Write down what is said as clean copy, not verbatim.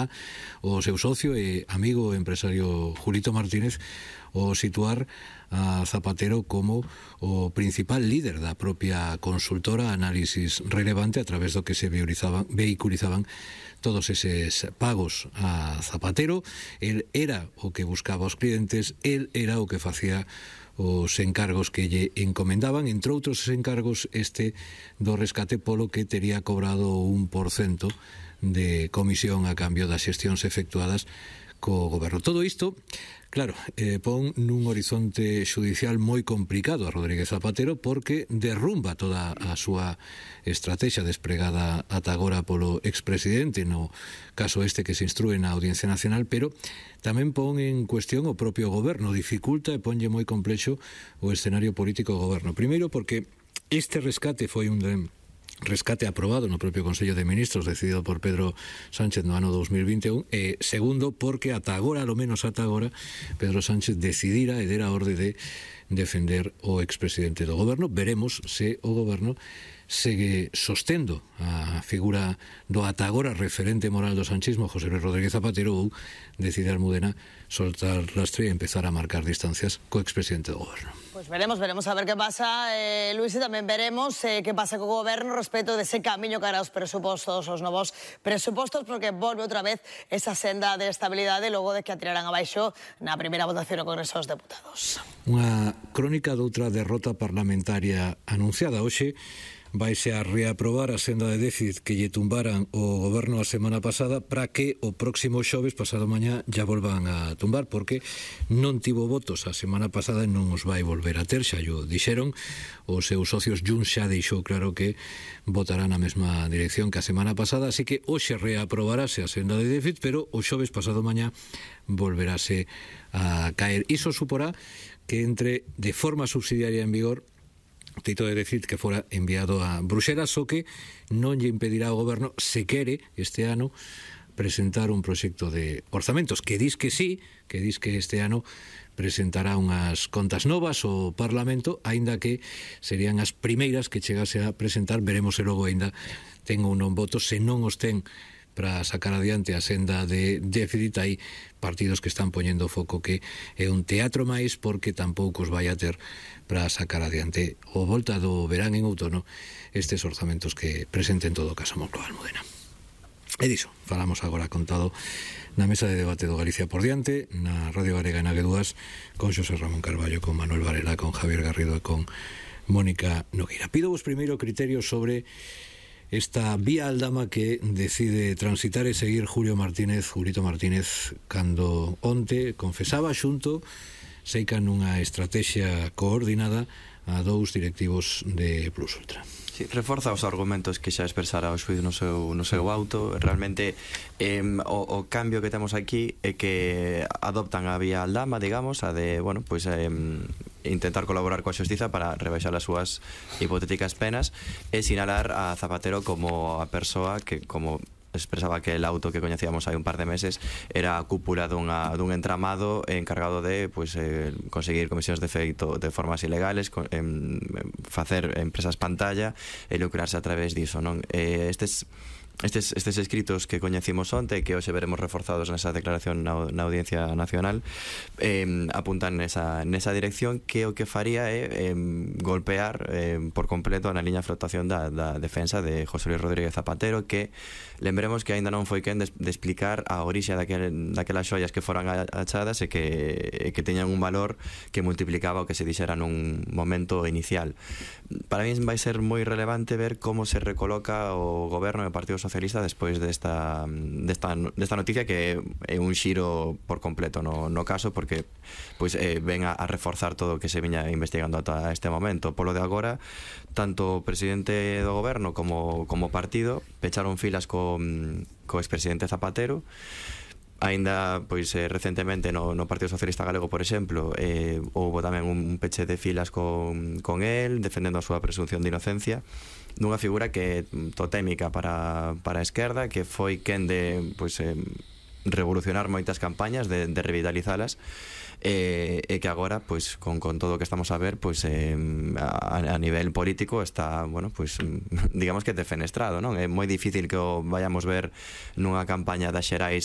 está o seu socio e amigo empresario Julito Martínez o situar a Zapatero como o principal líder da propia consultora Análisis Relevante, a través do que se vehiculizaban todos eses pagos a Zapatero. El era o que buscaba os clientes, el era o que facía os encargos que lle encomendaban, entre outros encargos este do rescate polo que tería cobrado 1% de comisión a cambio das xestións efectuadas co goberno. Todo isto, claro, pon nun horizonte xudicial moi complicado a Rodríguez Zapatero, porque derrumba toda a súa estrategia despregada ata agora polo expresidente no caso este que se instrúe na Audiencia Nacional, pero tamén pon en cuestión o propio goberno, dificulta e ponlle moi complexo o escenario político do goberno. Primeiro porque este rescate foi un rescate aprobado no propio Consello de Ministros, decidido por Pedro Sánchez no ano 2021, e segundo porque ata agora, ao menos ata agora, Pedro Sánchez decidira e dera a orde de defender o expresidente do goberno. Veremos se o goberno segue sostendo a figura do ata agora referente moral do sanchismo, José Luis Rodríguez Zapatero, ou decide Almudena soltar rastre e empezar a marcar distancias co expresidente do goberno. Pues veremos a ver qué pasa, Luis, y también veremos qué pasa con o goberno respecto de ese camiño cara aos presupostos, os novos presupostos, porque volve outra vez esa senda de estabilidade logo de que a tiraran abaixo na primeira votación no Congreso dos Deputados. Unha crónica doutra derrota parlamentaria anunciada hoxe. Vaise a reaprobar a senda de déficit que lle tumbaran o goberno a semana pasada, para que o próximo xoves, pasado mañá, ya volvan a tumbar, porque non tivo votos a semana pasada e non os vai volver a ter, xa yo dixeron. Os seus socios Junts xa deixou claro que votarán na mesma dirección que a semana pasada, así que hoxe reaprobarase a senda de déficit, pero o xoves pasado mañá volverase a caer. Iso suporá que entre de forma subsidiaria en vigor o teito de déficit que fora enviado a Bruxelas, o que non lle impedirá ao goberno, se quere, este ano, presentar un proxecto de orzamentos, que dis que sí, que dis que este ano presentará unhas contas novas ao Parlamento, aínda que serían as primeiras que chegase a presentar. Veremos se logo aínda ten ou non votos. Se non os ten para sacar adiante a senda de déficit, hai partidos que están poñendo foco que é un teatro máis, porque tampouco os vai a ter para sacar adiante o volta do verán en outono estes orzamentos que presenten todo o caso Moncloa Almudena. E diso falamos agora contado na mesa de debate do Galicia por diante, na Radio Galega e na G2, con Xosé Ramón Carballo, con Manuel Varela, con Javier Garrido e con Mónica Nogueira. Pido vos primeiro criterio sobre esta vía aldama que decide transitar e seguir Julito Martínez, cando onte confesaba xunto, seica nunha estrategia coordinada, a dous directivos de Plus Ultra. Sí, reforza os argumentos que xa expresara o xuíz no seu auto. Realmente o cambio que temos aquí é que adoptan a vía aldama, digamos, a de, bueno, pues intentar colaborar coa xustiza para rebaixar as súas hipotéticas penas e sinalar a Zapatero como a persoa que, como expresaba que el auto que coñecíamos hai un par de meses, era a cúpula dun entramado encargado de conseguir comisións de feito de formas ilegales, facer empresas pantalla e lucrarse a través diso, non? Estes escritos que coñecimos onte, que hoxe veremos reforzados nesa declaración na Audiencia Nacional, apuntan nesa dirección, que o que faría é golpear por completo na liña de flotación da defensa de José Luis Rodríguez Zapatero, que lembremos que aínda non foi quen de explicar a orixe daquelas xoias que foran achadas e que teñan un valor que multiplicaba o que se dixera nun momento inicial. Para mí vai ser moi relevante ver como se recoloca o goberno e o Partido Socialista despois desta noticia, que é un xiro por completo no caso, porque pois ven a reforzar todo o que se viña investigando ata este momento. Polo de agora, tanto o presidente do goberno como partido pecharon filas co expresidente Zapatero. Aínda, pois, recentemente no Partido Socialista Galego, por exemplo, houve tamén un peche de filas con el, defendendo a súa presunción de inocencia, dunha figura que é totémica para a esquerda, que foi quen de, pois, revolucionar moitas campañas, de revitalizalas, e que agora, pois, con todo o que estamos a ver, pois, a nivel político está, bueno, pois, digamos que defenestrado, non? É moi difícil que o vayamos ver nunha campaña das xerais